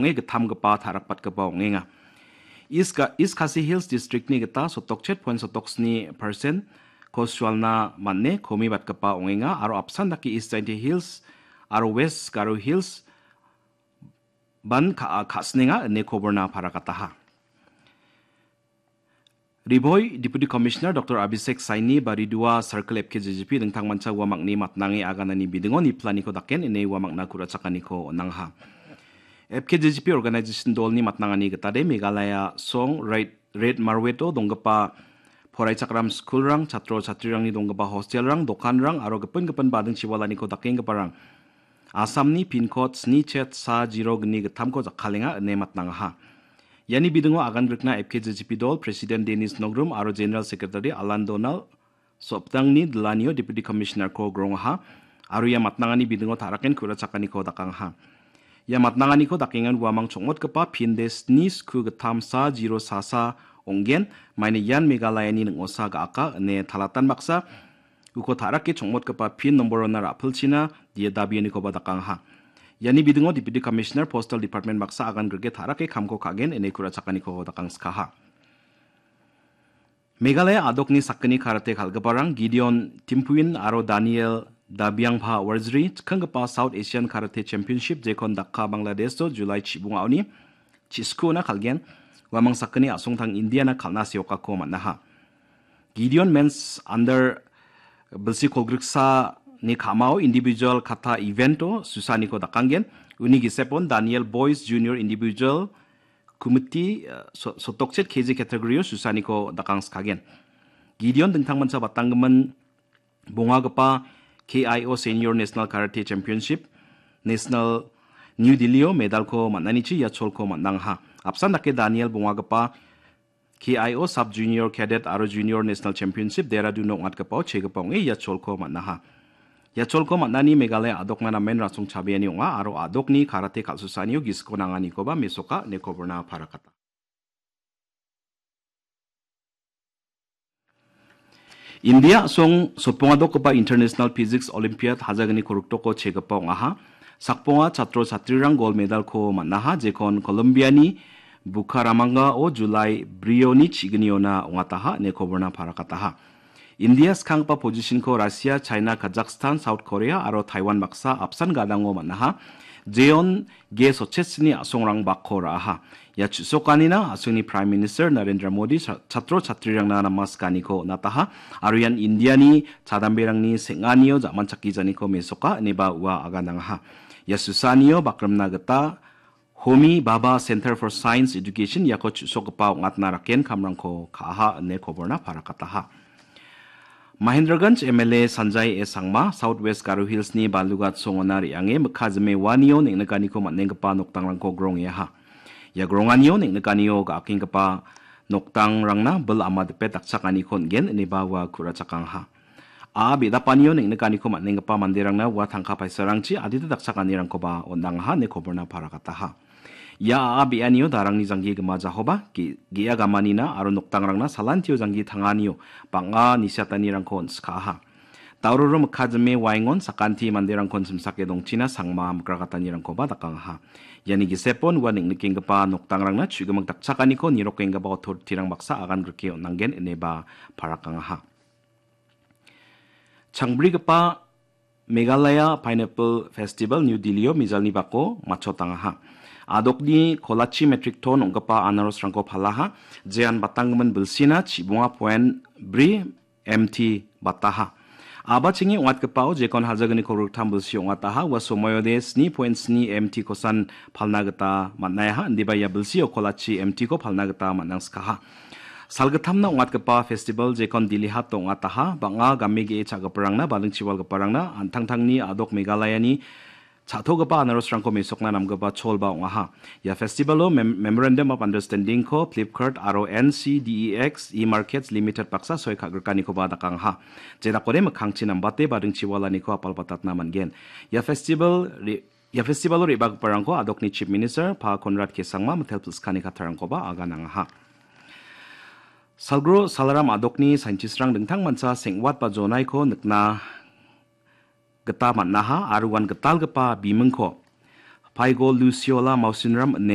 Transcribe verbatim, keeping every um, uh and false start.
ong·e gittamgipa tarakbatgipa ong·enga. East Ga-, East Khasi Hills District-ni gita sotokchet point sotok sni percent-ko sualna man·e komibatgipa ong·enga aro apsan dake East Jaintia Hills aro West Garo Hills ban ka-, ka·sinenga ine koborna parakataha. Ri Bhoi Deputy Commissioner Doctor Abhishek Saini ba Ri Dua Circle F K J G P dingtangmancha uamangni matnange aganani bidingo niplaniko daken ine uamangna ku·rachakaniko on·angaha. F K J G P organization dolni matnangani gitade Meghalaya song Red, Red Marweto donggipa poraichakram skulrang, chatro chatrirangni donggipa hostelrang, dokanrang aro gipin gipin bading chiwalaniko dakenggiparang Assamni pin code sni chet sa zero gni gittamko jakkalenga ine matnangaha. Iani bidingo agan grikna F K J G P dol President Dennis Nogrum aro General Secretary Alan Donald Soptangni dilanio Deputy Commissioner-ko grongaha aro ia matnangani bidingo taraken ku·rachakaniko dakangaha. Ia matnanganiko dakengan uamang chongmotgipa pinde sni sku gittam sa zero sa sa ong·gen, maina ian Meghalayani ning·osa ga·aka ine talatan baksa uko tarake chongmotgipa pin nomborona ra·pilchina dia dabianikoba dakangaha. Iani bidingo Deputy Commissioner Postal Department baksa agan grike tarake kamko ka·gen ine ku·rachakaniko dakangskaha. Meghalaya adokni sakgni karate kal·giparang Gideon Timpuin aro Daniel Dabiangpha Warjri chikkanggipa South Asian Karate Championship jekon Dhaka, Bangladesh-o July chibungaoni chiskuona kal·gen, uamang sakgni a·songtang Indiana kal·na seokako man·aha. Gideon Men's Under bilsi kolgriksani ka·mao individual kata event-o susaniko dakanggen, uni gisepon Daniel Boys Junior Individual Kumiti, eh, so-, sotokchet K G category-o susaniko dakangskagen. Gideon dingtangmancha batanggimin bongagipa K I O Senior National Karate Championship, National New Delhi-o medalko man·anichi ia cholko man·angaha. Apsan dake Daniel bongagipa K I O Sub Junior Cadet aro Junior National Championship Dehradun-o ong·atgipao chegipa ong·e ia cholko man·aha. Ia cholko man·ani Meghalaya adokna namen rasong chabeani ong·a aro adokni karate kal·susaanio gisiko nanganikoba mesoka ine koborna parakata. India a·song sotpongadokgipa International Physics Olympiad hajalgni koriktoko chegipa ong·aha. Sakbonga chatro chatrirang gol medalko man·aha, jekon Colombiani Bucaramanga-o July brioni chigniona ong·ataha ine koborna parakataha. India skanggipa position-ko Russia, China, Kazakhstan, South Korea aro Taiwan baksa apsan gadango man·aha. Jeon G Sochesni a·songrang bakko ra·aha. Ia chu·sokanina a·songni Prime Minister Narendra Modi cha-, chatro chatrirangna namaskaniko on·ataha aro ian Indiani chadamberangni seng·anio ja·manchakkijaniko mesoka ineba ua aganangaha. Ia susaanio bakrimna gita Homi Bhabha Center for Science Education iako chu·sokgipa ong·atna raken kamrangko ka·aha ine koborna parakataha. Mahendraganj M L A Sanjay A Sangma, South West Garo Hills-ni Balugat songona re·ange mikka jime uanio neng·nikaniko man·enggipa nokdangrangko grongeaha. Ia gronganio neng·nikanio ga·akenggipa nokdangrangna bil ama dipe dakchakaniko on·gen ineba ua ku·rachakangaha. A·a be·dapanio neng·nikaniko man·enggipa manderangna ua tangka paisarangchi adita dakchakanirangkoba on·angaha ine koborna parakataha. Ia a·a be·anio darangni janggi gimajahoba ge-, ge·a gamanina aro nokdangrangna salantio janggi tanganio bang·a nisiatanirangko on·sikaha. Dauroro mikka jime waengon sakanti manderangkon simsake dongchina sangma mikrakatanirangkoba dakangaha. Iani gisepon ua neng·nikenggipa nokdangrangna chu·gimik dakchakaniko nirokenggipa otoritirang baksa agan grike on·nanggen ineba parakangaha. Changbrigipa Meghalaya Pineapple Festival New Delhi-o mijalni bako matchotangaha. Adokni kolachi metric ton ong·gipa anarosrangko palaha, jean batanggimin bilsina chibonga point bri M T bataha. A·bachengni ong·atgipao jekon hajalgniko riktam bilsi ong·ataha, ua somoiode sni point sni M T kosan palna gita man·aiha, indiba ia bilsio kolachi M T-ko palna gita man·angskaha. Salgittamna ong·atgipa festival jekon Dili Hat ong·ataha, bang·a game ge·e cha·giparangna, badingchiwalgiparangna, an·tangtangni adok Meghalayani cha·togipa anarosrangko mesokna namgipa cholba ong·aha. Ia festivalo mem-, Memorandum of Understanding-ko Flipkart aro N C D E X E-Markets Limited baksa soi ka·grikanikoba dakangaha. Jenakode mikkangchi nambate badingchiwalaniko apalbatatna man·gen. Ia festival re-, Ia festivalo re·bagiparangko adokni Chief Minister Pa Conrad K Sangma mitel pilskani kattarangkoba aganangaha. Salgro Salaram adokni scientist-rang dingtangmancha seng·wat ba jonaiko nikna gita man·aha aro uan gitalgipa bimingko Paigo Luciola Mausinram ine